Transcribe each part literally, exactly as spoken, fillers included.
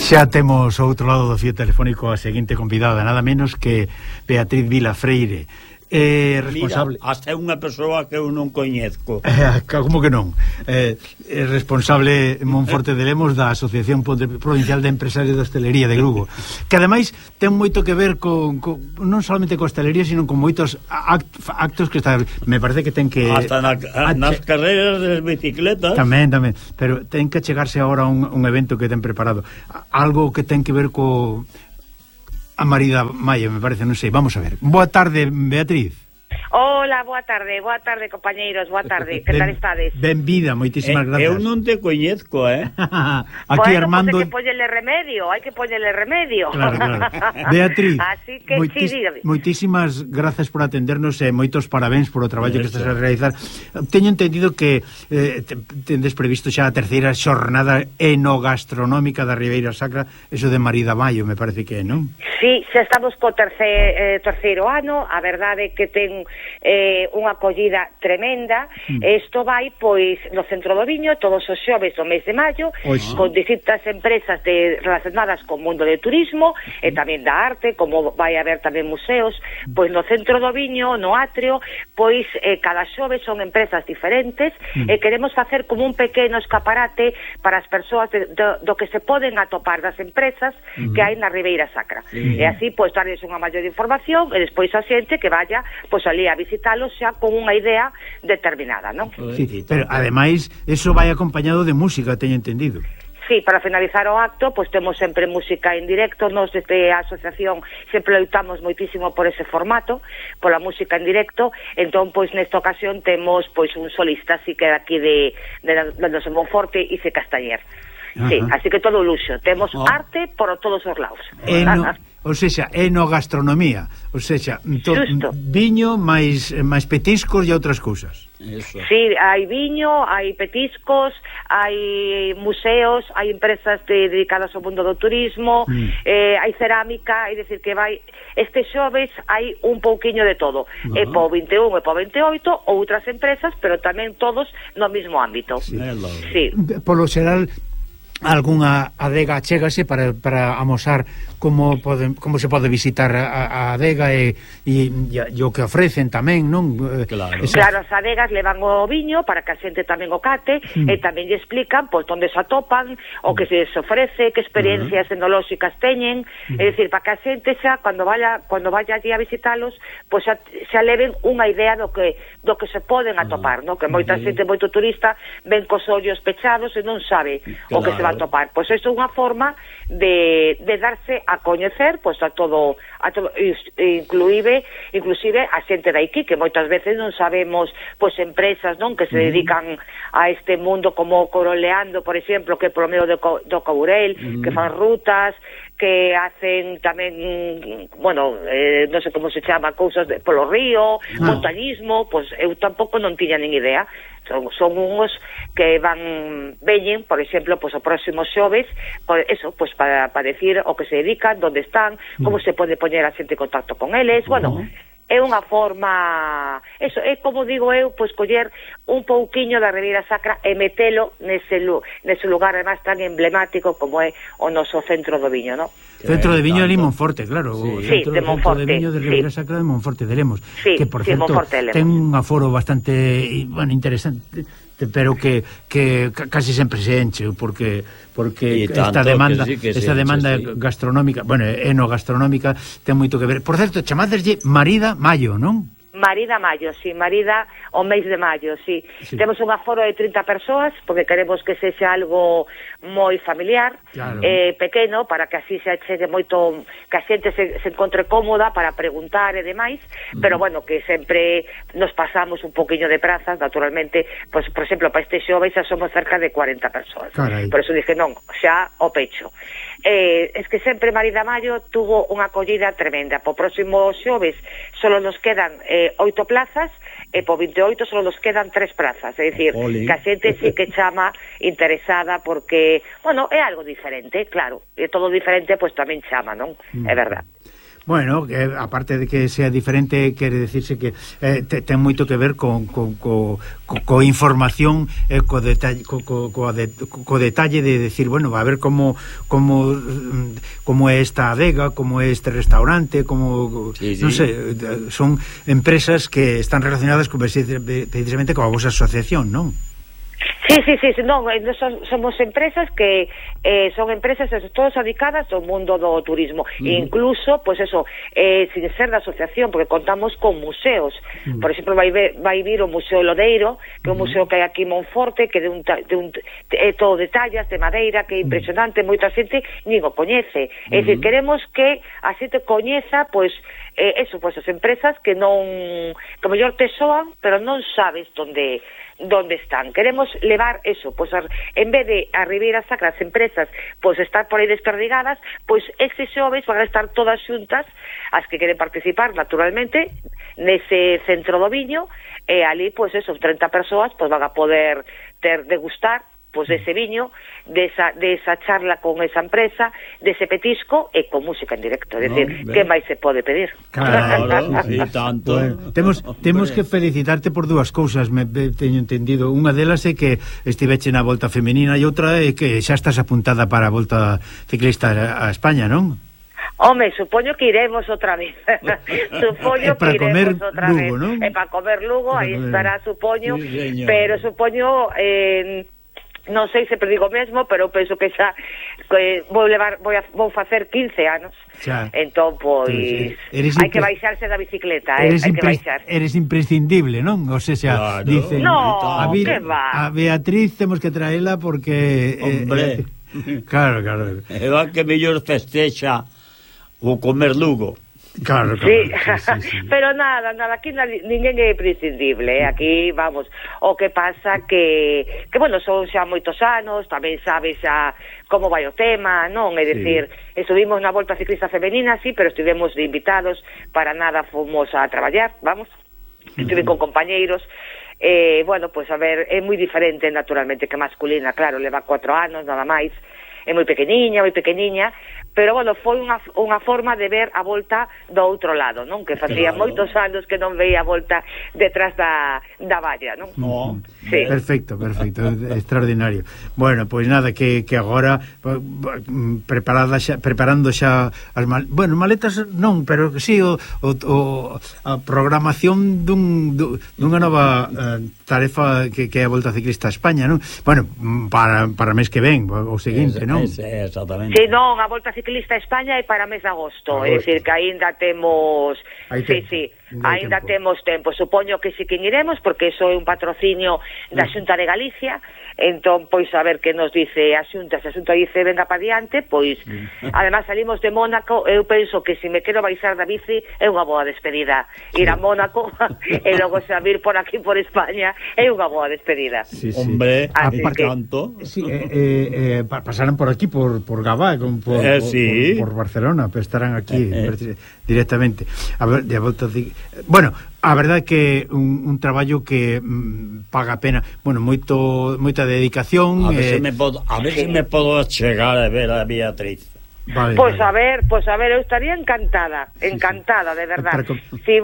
Xa temos ao outro lado do fío telefónico a seguinte convidada, nada menos que Beatriz Vila Freire, eh, responsable... Mira, hasta unha persoa que eu non coñezco. Eh, como que non? Eh, é responsable Monforte de Lemos da Asociación Provincial de Empresarios de Hostelería de Lugo, que ademais ten moito que ver con, con non solamente con hostelería, sino con moitos act, actos que está, me parece que ten que... Hasta na, a, nas carreras de bicicletas. Tamén, tamén, pero ten que chegarse agora a un, un evento que ten preparado. Algo que ten que ver co... a Marida Maio, me parece, non sei. Vamos a ver. Boa tarde, Beatriz. Hola, boa tarde, boa tarde, compañeiros, boa tarde. Que tal estades? Benvida, moitísimas eh, gracias. Eu non te coñezco, eh? Aquí bueno, Armando... Pues hai que poñerle remedio, hai que poñerle remedio. Claro, claro. Beatriz, Así que, moitis, sí, moitísimas gracias por atendernos e moitos parabéns por o traballo que estás a realizar. Teño entendido que eh, tendes previsto xa a terceira xornada enogastronómica da Ribeira Sacra, eso de Marida Maio, me parece que é, non? Sí, xa estamos co terceiro, eh, terceiro ano, a verdade é que ten eh, unha acollida tremenda. Mm. Isto vai, pois, no Centro do Viño, todos os xoves do mes de maio, Oxe. con distintas empresas de, relacionadas co mundo do turismo mm. e tamén da arte, como vai haber tamén museos, mm. pois no Centro do Viño, no Atrio, pois eh, cada xove son empresas diferentes mm. e queremos facer como un pequeno escaparate para as persoas de, do, do que se poden atopar das empresas mm. que hai na Ribeira Sacra. Mm. E así, pois, darles unha maior información e despois a xente que vaya, pois, ali a visitalos xa con unha idea determinada, non? Sí, pero ademais, eso vai acompañado de música, teño entendido. Sí, para finalizar o acto, pois temos sempre música en directo. Nos desde a asociación sempre loitamos moitísimo por ese formato, pola música en directo. Entón, pois nesta ocasión temos pois un solista, así que aquí de, de, de, de Monforte, Ice Castañer. Sí, Ajá. así que todo luxo. Temos oh. arte por todos os lados. Eno, ou seja, enogastronomía, ou seja, to, viño máis máis petiscos e outras cousas. Eso. Sí, hai viño, hai petiscos, hai museos, hai empresas de, dedicadas ao mundo do turismo, mm. eh, hai cerámica, é dicir que vai este xoves hai un pouquiño de todo. Uh-huh. É po vinte e un e po vinte e oito outras empresas, pero tamén todos no mesmo ámbito. Sí. Sí. Polo xeral algunha adega chégase para, para amosar como pode, como se pode visitar a, a adega e, e, e o que ofrecen tamén, non? Claro. Esa... claro, as adegas levan o viño para que a xente tamén o cate mm. e tamén lle explican pois onde se atopan, o que se ofrece, que experiencias uh-huh. enolóxicas teñen, mm. é dicir, para que a xente xa cando vaya cando vaya allí a visitalos, pois xa, xa leven unha idea do que do que se poden atopar, uh-huh. non? Que moita uh-huh. xente, moito turista ven cos ollos pechados e non sabe claro. o que se va a topar. Pois isto é unha forma de, de darse a coñecer pois a todo, a todo inclusive, inclusive a xente de aquí, que moitas veces non sabemos pois empresas, non, que se dedican a este mundo como Coroleando, por exemplo, que é polo medio do, do Courel, uh-huh. que fan rutas, que hacen tamén, bueno, eh, non sei como se chama, cousas de, polo río, no. montañismo, pois eu tampouco non tiña nin idea. Son, son uns que van, veñen, por exemplo, pois o próximo xoves, por eso, pois para, para decir o que se dedican, onde están, como mm. se pode poñer a xente en contacto con eles, uh-huh. bueno... é unha forma, eso, é como digo eu, pois coller un pouquiño da Ribeira Sacra e metelo nese, nese lugar además tan emblemático como é o noso Centro do Viño, non? Centro de Viño de Monforte, claro. Sí, centro, de Monforte. Centro de Viño de Ribeira sí. Sacra de Monforte de Lemos. Sí, que, por sí, certo, ten un aforo bastante, bueno, interesante, pero que, que casi sempre se enche, porque porque esta demanda sí esta demanda enche, sí. gastronómica, bueno, enogastronómica ten moito que ver. Por certo, chamadeslle Marida Maio, non? Marida Maio, sí, Marida o mes de maio, sí. sí. Temos un aforo de trinta persoas, porque queremos que sexa algo moi familiar, claro. eh, pequeno, para que así se achegue moito, que a xente se, se encontre cómoda para preguntar e demais, uh-huh. pero bueno, que sempre nos pasamos un poquinho de prazas, naturalmente, pues, por exemplo, para este xoves xa somos cerca de cuarenta persoas. Carai. Por eso dije, non, xa o pecho. Eh, es que sempre Marida Maio tuvo unha acollida tremenda. Po próximo xoves solo nos quedan eh, oito plazas e po vinte e oito solo nos quedan tres plazas, é dicir, Oli. que a xente sí que chama interesada porque, bueno, é algo diferente, claro, é todo diferente, pois pues, tamén chama, non? Mm. É verdad. Bueno, que aparte de que sea diferente, quere decirse que eh, te, ten moito que ver con co, co, co, co información, eh, co, detalle, co, co, co, de, co detalle de decir, bueno, a ver como como como é esta adega, como é este restaurante, como sí, sí. non sei, son empresas que están relacionadas con, precisamente con a vosa asociación, non? Sí, sí, sí, sí, non, son, somos empresas que eh, son empresas todas dedicadas ao mundo do turismo, uh-huh. e incluso, pues eso, eh, sin ser da asociación, porque contamos con museos, uh-huh. por exemplo, vai, vai vir o Museo Lodeiro, que é un museo que hai aquí en Monforte, que de un, de un é todo de tallas, de madeira, que é impresionante, moita xente nin o coñece, uh-huh. é dicir, queremos que a xente coñeza, pois, eh, eso, pois as empresas que non, que mellor te soan, pero non sabes onde donde están. Queremos levar eso, pois pues, en vez de a Ribeira Sacra as empresas pois pues, estar por aí desperdigadas, pois pues, estes xoves van a estar todas xuntas, as que queren participar naturalmente nese centro do viño, e ali pois pues, esos treinta persoas pois pues, van a poder ter degustar pois pues, dese viño, desa, desa charla con esa empresa, dese petisco e con música en directo, é dicir, no, que máis se pode pedir? Claro, e tanto. Bueno, temos temos que felicitarte por dúas cousas, me, me teño entendido. Unha delas é que estiveche na Volta Femenina e outra é que xa estás apuntada para a Volta Ciclista a España, non? Home, supoño que iremos outra vez. Supoño que iremos outra Lugo, vez. ¿no? E para comer Lugo, aí estará, supoño, sí, pero supoño eh, non sei se digo mesmo, pero penso que xa que vou levar vou a, vou facer quince anos. Xa. Entón, pois, hai que baixarse da bicicleta, eh, hai que baixar. Eres imprescindible, non? O sea, claro. Dice, no, a, que va. A Beatriz temos que traela porque hombre, eh, eh, claro, claro. É o que mellor festexa o comer Lugo. Claro, claro. Sí. Sí, sí, sí. Pero nada, nada, aquí ninguén é prescindible, eh? Aquí, vamos, o que pasa que, que bueno, son xa moitos anos, tamén sabes xa como vai o tema, non? É dicir, sí. Estuvimos na Volta Ciclista Femenina, sí, pero estivemos de invitados, para nada fomos a traballar, vamos, estuve con compañeiros, eh, bueno, pues a ver, é moi diferente naturalmente que masculina, claro, leva cuatro anos, nada máis, é moi pequeniña, moi pequeniña, pero, bueno, foi unha, unha forma de ver a Volta do outro lado, non? Que facía claro. moitos anos que non veía a Volta detrás da, da valla, non? No. Sí. Perfecto, perfecto, extraordinario. Bueno, pois pues nada, que, que agora preparada xa, preparando xa as mal, bueno, maletas non, pero sí o, o, o a programación dun, dunha nova uh, tarefa que, que é a Volta Ciclista a España, non? Bueno, para, para mes que ven, o seguinte, non? Es, es, exactamente. Sí, non, a Volta Ciclista a España é para mes de agosto, é dicir, que aínda temos Aí sí, sí, aínda temos tempo, supoño que sí que iremos, porque iso é un patrocinio da Xunta de Galicia, entón, pois, a ver que nos dice a Xunta, se a Xunta dice venga pa diante, pois, además salimos de Mónaco, eu penso que se me quero baixar da bici é unha boa despedida, ir a Mónaco e logo xa vir por aquí por España é unha boa despedida. Sí, sí. Hombre, así que... tanto. Sí, eh, eh, pasaran por aquí, por, por Gabá, por, eh, sí. por, por Barcelona, pero estarán aquí eh, eh. directamente. A ver, de volta de... Bueno, a verdade que un, un traballo que mm, paga a pena, bueno, moito moita dedicación. A ver eh... se me podo, a ver sí. se me podo chegar a ver a Beatriz. Vale, pois pues vale. a ver, pois pues a ver, eu estaría encantada, encantada, sí, sí. de verdade. Para... Si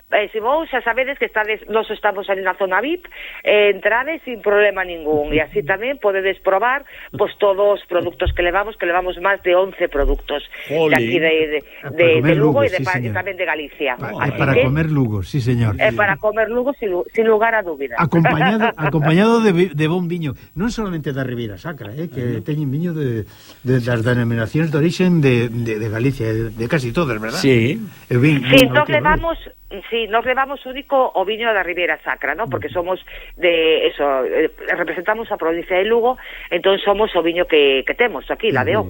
Eh, se vos xa sabedes que estades, nos estamos ali na zona V I P, eh, entrades sin problema ningún, e así tamén podedes probar pois todos os produtos que levamos, que levamos máis de once produtos de aquí de, de, de, de Lugo e sí, tamén de Galicia. Pa, así para que, comer Lugo, sí señor. É para comer Lugo sin, sin lugar a dúbida. Acompañado, acompañado de, de bon viño, non solamente da Ribeira Sacra, eh, que teñen viño de, de, das denominacións de orixen de, de, de Galicia, de, de casi todas, verdad? Sí. Eh, vin, sí, entón levamos... Sí, nos levamos único o viño da Ribeira Sacra, ¿no? Porque somos de eso, eh, representamos a provincia de Lugo, entón somos o viño que, que temos aquí, la de O.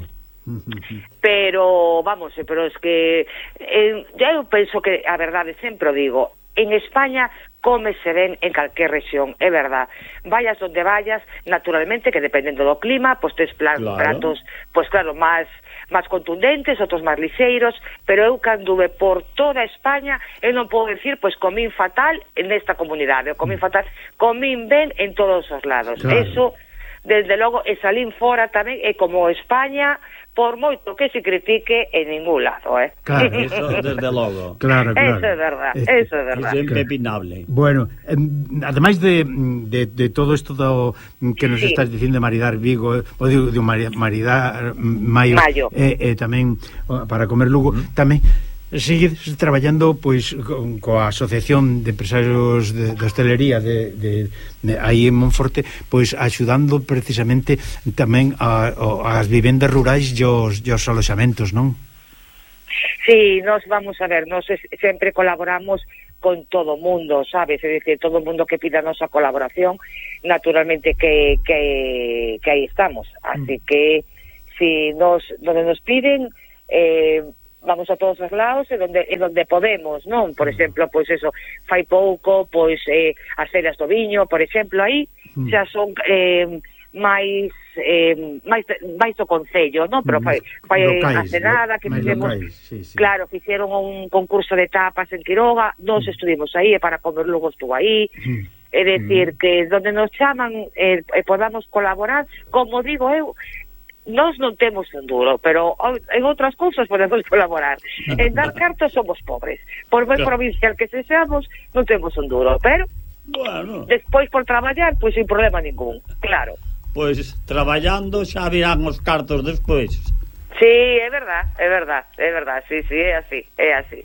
Pero, vamos, pero es que eh, eu penso que a verdade, sempre o digo, en España cómese ben en calquer rexión, é verdad. Vayas onde vayas, naturalmente que dependendo do clima, pois tes plan, claro. pratos, pois claro, máis máis contundentes, outros máis lixeiros, pero eu cando ve por toda España, eu non podo decir, pois comín fatal nesta comunidade, ou comín fatal, comín ben en todos os lados. Claro. Eso desde logo, e salín fora tamén, e como España, por moito que se critique, en ningún lado, eh? Claro, eso desde logo. Claro, claro. Eso é verdad, eso é verdad. Eso é impepinable. Bueno, eh, ademais de, de, de todo isto do, que nos sí. estás dicindo de maridar Vigo, o de, de maridar Maio, Mayo. E eh, eh, tamén para comer Lugo, mm. tamén seguir traballando pois con, coa Asociación de Empresarios de, de Hostelería de, de, de aí en Monforte, pois axudando precisamente tamén a, a, as vivendas rurais e os, e os aloxamentos, non? Sí, nos vamos a ver, nos sempre colaboramos con todo o mundo, sabes? É dicir, todo o mundo que pida a nosa colaboración, naturalmente que, que, que aí estamos. Así mm. que, si nos, donde nos piden, eh, vamos a todos os lados e donde, e donde podemos, non? Por exemplo, pois eso, fai pouco, pois eh, as feiras do viño, por exemplo, aí mm. xa son eh, máis eh, máis, máis do concello, non? Pero fai, fai hace nada que fixemos, sí, sí. Claro, fixeron un concurso de tapas en Quiroga, nós mm. estuvimos aí, e para comer Lugo estuvo aí, mm. é dicir, mm. que donde nos chaman e eh, podamos colaborar, como digo eu, nós non temos un duro, pero en outras cousas podemos colaborar. En dar cartas somos pobres. Por moi provincial que se seamos, non temos un duro, pero bueno, despois por traballar, pois sin problema ningún, claro. Pois traballando xa virán os cartos despois. Sí, é verdad, é verdad, é verdad, sí, sí, é así, é así.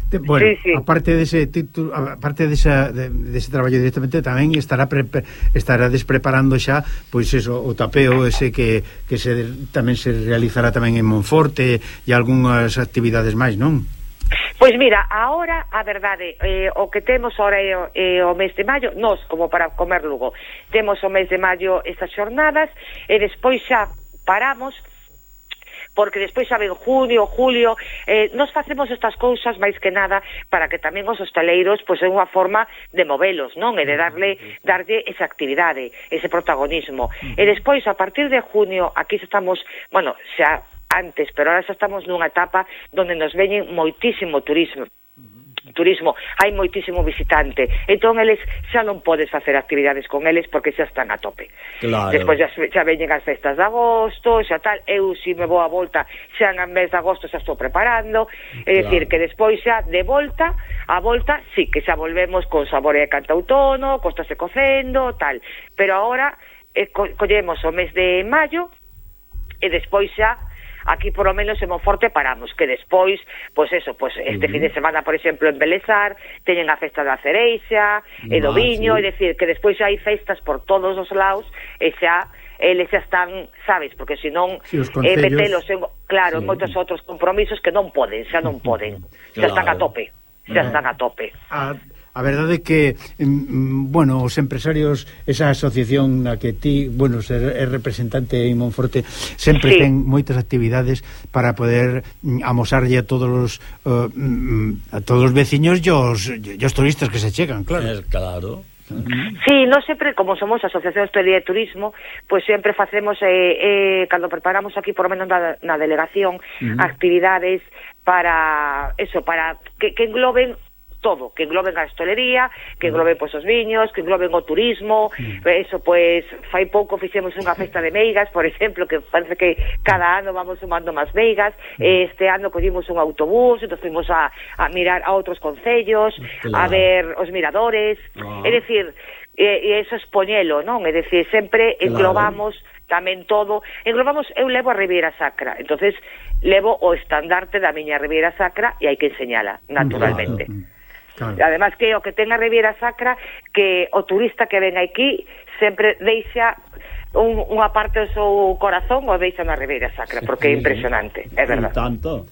Bueno, sí, sí. aparte dese título, aparte desa de, dese traballo directamente, tamén estará pre, estará despreparando xa pois eso, o tapeo ese que, que se, tamén se realizará tamén en Monforte e algunhas actividades máis, non? Pois mira, ahora a verdade, eh, o que temos ahora é o, é o mes de maio, nós como para comer Lugo, temos o mes de maio estas xornadas e despois xa paramos porque despois xa ven junio, julio, eh, nos facemos estas cousas máis que nada para que tamén os hostaleiros pois é unha forma de movelos, non? E de darle darlle esa actividade, ese protagonismo. E despois, a partir de junio, aquí estamos, bueno, xa antes, pero ahora xa estamos nunha etapa donde nos veñen moitísimo turismo, turismo, hai moitísimo visitante, entón eles xa non podes facer actividades con eles porque xa están a tope. Claro. Despois xa, xa veñen as festas de agosto, xa tal, eu si me vou a volta xa en mes de agosto xa estou preparando, é dicir claro. Que despois xa de volta, a volta sí que xa volvemos con sabor e cantautono, costase cocendo, tal, pero agora eh, co collemos o mes de maio e despois xa aquí por lo menos en Monforte paramos, que despois, pois eso, pois este uh -huh. fin de semana, por exemplo, en Belezar, teñen a festa da cereixa, ah, e do viño, sí. É dicir, que despois hai festas por todos os lados, e xa, eles xa están, sabes, porque senón, sí, eh, metelos, en, claro, sí. En moitos outros compromisos que non poden, xa non poden, xa claro. Están a tope, xa están a tope. A, a verdade é que, mm, bueno, os empresarios, esa asociación na que ti, bueno, ser é representante en Monforte, sempre sí. Ten moitas actividades para poder mm, amosarlle a todos os uh, mm, a todos os veciños e os, e os turistas que se chegan, claro. Es claro. Sí, non sempre, como somos Asociación de Hostelería e Turismo, pois pues sempre facemos, eh, eh, cando preparamos aquí, por lo menos na, na delegación, uh -huh. actividades para, eso, para que, que engloben todo, que engloben a hostelería, que engloben pois os viños, que engloben o turismo, mm. eso pois fai pouco fixemos unha festa de meigas, por exemplo, que parece que cada ano vamos sumando máis meigas, mm. este ano collimos un autobús, entón fuimos a, a mirar a outros concellos, claro. A ver os miradores, ah. É dicir, e, e eso es poñelo, non? É dicir, sempre englobamos claro. Tamén todo, englobamos, eu levo a Ribeira Sacra, entonces levo o estandarte da miña Ribeira Sacra e hai que enseñala, naturalmente. Claro. Claro. Además que o que ten a Ribeira Sacra, que o turista que ven aquí sempre deixa un, unha parte do seu corazón o deixa na Ribeira Sacra, porque sí, é impresionante, é verdade. Tanto.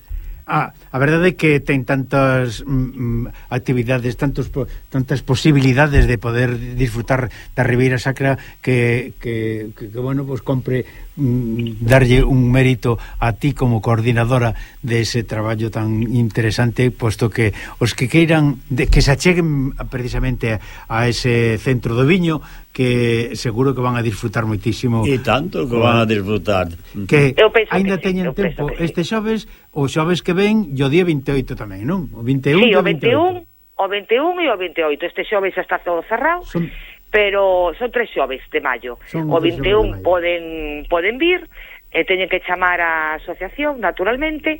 Ah, a verdade é que ten tantas mm, actividades, tantos tantas posibilidades de poder disfrutar da Ribeira Sacra que, que, que, que bueno, pues compre mm, darlle un mérito a ti como coordinadora de ese traballo tan interesante, posto que os que queiran de, que se acheguen precisamente a ese centro do viño, que seguro que van a disfrutar moitísimo. E tanto que van a disfrutar. Que ainda teñen sí, tempo este xoves, o xoves que ven e o día veintioito tamén, non? O vinte e un, sí, o vinte e un, o vinte e un e o veintioito. Este xoves xa está todo cerrado. Son... pero son tres xoves de maio. Son o vinte e un poden poden vir, e teñen que chamar a asociación, naturalmente,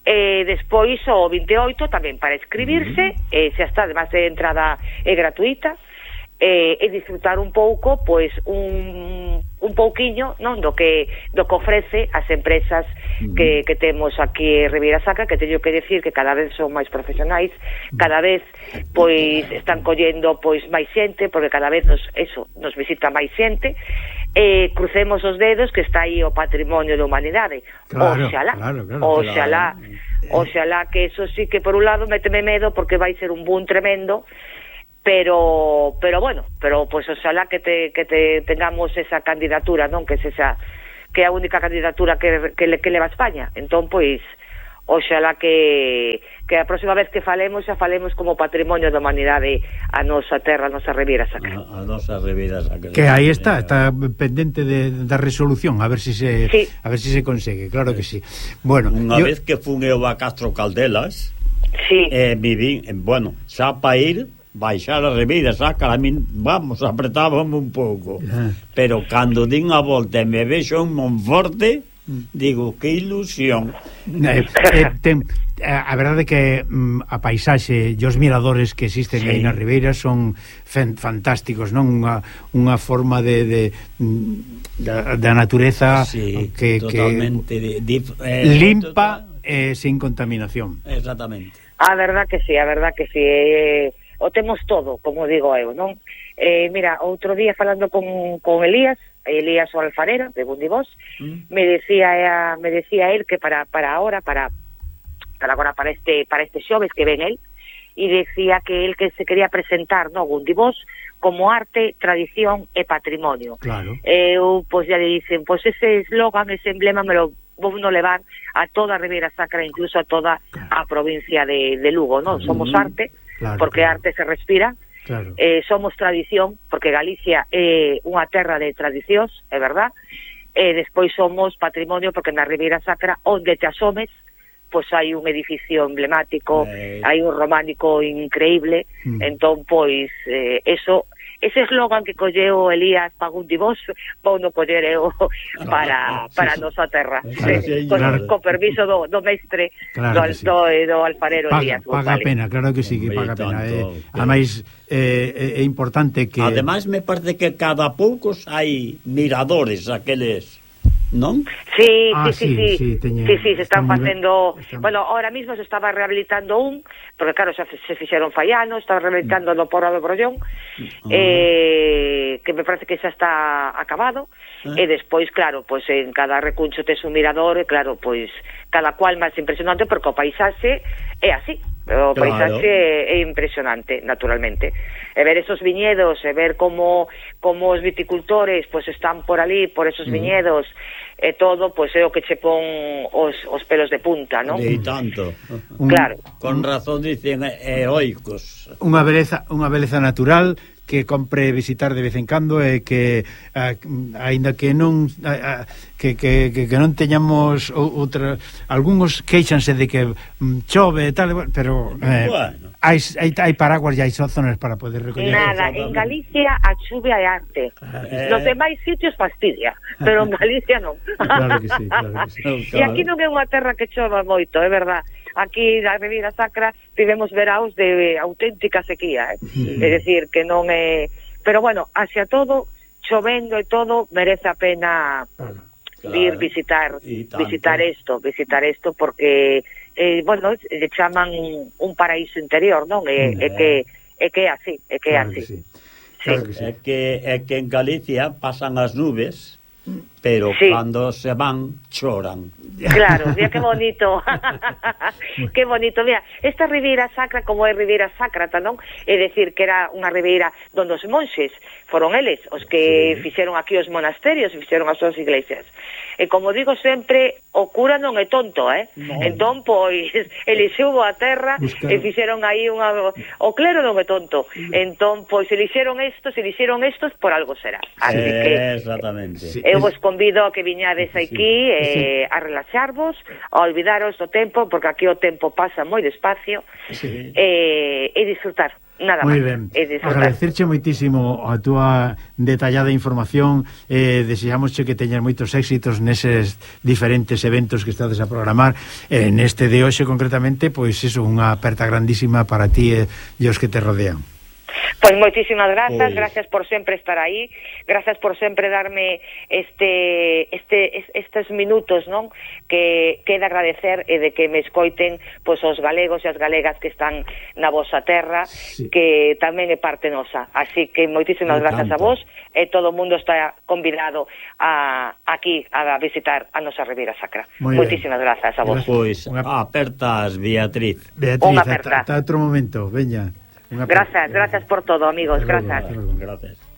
e despois o vinte e oito tamén para escribirse, uh-huh. e xa está, además de entrada é gratuita, e, e disfrutar un pouco, pois, un, un pouquiño, non, do que do que ofrece as empresas uh-huh. que, que temos aquí en Ribeira Sacra, que teño que decir que cada vez son máis profesionais, cada vez, pois, están collendo, pois, máis xente, porque cada vez nos, eso, nos visita máis xente, e crucemos os dedos que está aí o patrimonio da humanidade. Claro, oxalá, claro, claro, oxalá, claro. oxalá que eso sí que por un lado méteme medo porque vai ser un boom tremendo, pero pero bueno, pero pues oxalá que te que te tengamos esa candidatura, non, que es esa que é a única candidatura que que, que leva a España. Entón, pois oxalá que, que a próxima vez que falemos xa falemos como patrimonio da humanidade a nosa terra, a nosa Ribeira Sacra. A, a nosa Ribeira Sacra. Que aí está, está pendente de, da resolución, a ver si se sí. a ver si se consegue, claro que sí. Bueno, unha yo... vez que fun eu a Castro Caldelas, sí. eh, viví, bueno, xa pa ir baixar a Ribeira Sacra, a min, vamos, apretábamos un pouco. Ah. Pero cando din a volta e me vexo en Monforte, digo, que ilusión. Eh, eh, ten, a verdade é que mm, a paisaxe e os miradores que existen sí. aí na Ribeira son fen, fantásticos, non? Unha, unha forma de, de da, da natureza sí, que, totalmente que de, de, eh, limpa e eh, sin contaminación. Exactamente. A verdad que sí, a verdad que sí. Eh, o temos todo, como digo eu, non? Eh, mira, outro día falando con, con Elías, Elías o alfarero de Bundibós, mm. me decía me decía él que para para ahora para para agora para este para este xoves que ven él, y decía que él que se quería presentar, no, Bundibós como arte, tradición e patrimonio. Claro. Eu, pois, ya le dicen, pois ese eslogan, ese emblema me lo vou no levar a toda a Ribeira Sacra, incluso a toda claro. a provincia de, de Lugo, non? Mm. Somos arte, claro, porque claro. arte se respira. Claro. Eh, somos tradición, porque Galicia é unha terra de tradicións, é verdad, e despois somos patrimonio, porque na Ribeira Sacra, onde te asomes, pois hai un edificio emblemático, eh. hai un románico increíble, mm. entón, pois, eh, eso, ese eslogan que colleu Elías Pagundibós, vou no coller eu para, para a nosa terra, claro, sí, con, claro. con permiso do, do mestre, claro do, sí. do, do alfarero paga, Elías. Paga vale. pena, claro que sí, que paga pena. Eh, ademais, eh, é importante que... Ademais, me parece que cada poucos hai miradores, aqueles... ¿non? Sí, ah, sí, sí, sí, sí, sí, teña, sí, sí, se están facendo, está... bueno, ahora mismo se estaba rehabilitando un, porque claro, xa se fixeron fai anos, estaba rehabilitando no Porro do Brollón, uh-huh. eh, que me parece que xa está acabado, uh-huh. e despois, claro, pois en cada recuncho tes un mirador, e claro, pois cada cual máis impresionante, porque o paisaxe é así, o paisaxe claro. é impresionante, naturalmente. E ver esos viñedos, e ver como como os viticultores pois están por ali, por esos uh-huh. viñedos, e todo, pois é o que che pon os, os pelos de punta, non? De tanto. Claro. Con razón dicen heroicos. Unha beleza, unha beleza natural que compre visitar de vez en cando e que a, aínda que non a, a, que, que, que, que non teñamos outra, algúns queixanse de que mm, chove e tal, pero eh, bueno. hai, hai, hai paraguas e hai zonas para poder recoller. Nada, en Galicia a chuvia é arte. Eh. Nos demais sitios fastidia, pero en Galicia non. Claro que sí, claro que sí. E aquí non é unha terra que chova moito, é verdad. Aquí na Ribeira Sacra tivemos veraos de auténtica sequía, eh? Sí. É dicir, que non é... Pero bueno, hacia todo, chovendo e todo, merece a pena claro. ir visitar visitar isto, visitar isto, porque, eh, bueno, le chaman un paraíso interior, non? É, é que é que é así, é que é claro así. Que sí. Sí. Claro que sí. É que, é que en Galicia pasan as nubes, pero sí. cando se van, choran. Claro, mira que bonito. Que bonito, mira, esta Ribeira Sacra, como é Ribeira Sacra, non? É dicir, que era unha ribeira donde os monxes foron eles os que sí. fixeron aquí os monasterios e fixeron as súas iglesias. E como digo sempre, o cura non é tonto, eh? No. Entón, pois, elixeu a terra Buscar. e fixeron aí unha... O clero non é tonto. Entón, pois, elixeron estos, elixeron estos, por algo será. Así eh, que... Exactamente. Sí. Eu vos convido a que viñades aquí sí. eh, sí. a relaxarvos, a olvidaros do tempo, porque aquí o tempo pasa moi despacio, sí. eh, e disfrutar. nada Muy máis. ben, agradecerche moitísimo a túa detallada información, eh, desexamos que teñas moitos éxitos neses diferentes eventos que estades a programar, eh, neste de hoxe concretamente, pois iso, unha aperta grandísima para ti e, e os que te rodean. Pois moitísimas grazas, Oye. gracias por sempre estar aí, gracias por sempre darme este este estes minutos, non? Que queda agradecer e de que me escoiten pois os galegos e as galegas que están na vosa terra, sí. Que tamén é parte nosa. Así que moitísimas Me grazas encanta. a vos e todo o mundo está convidado a aquí a visitar a nosa Ribeira Sacra. Muy moitísimas bien. Grazas a vos. Pois apertas, Beatriz. Beatriz, ata, ata outro momento, veña. Gracias, gracias por todo, amigos, gracias. Gracias.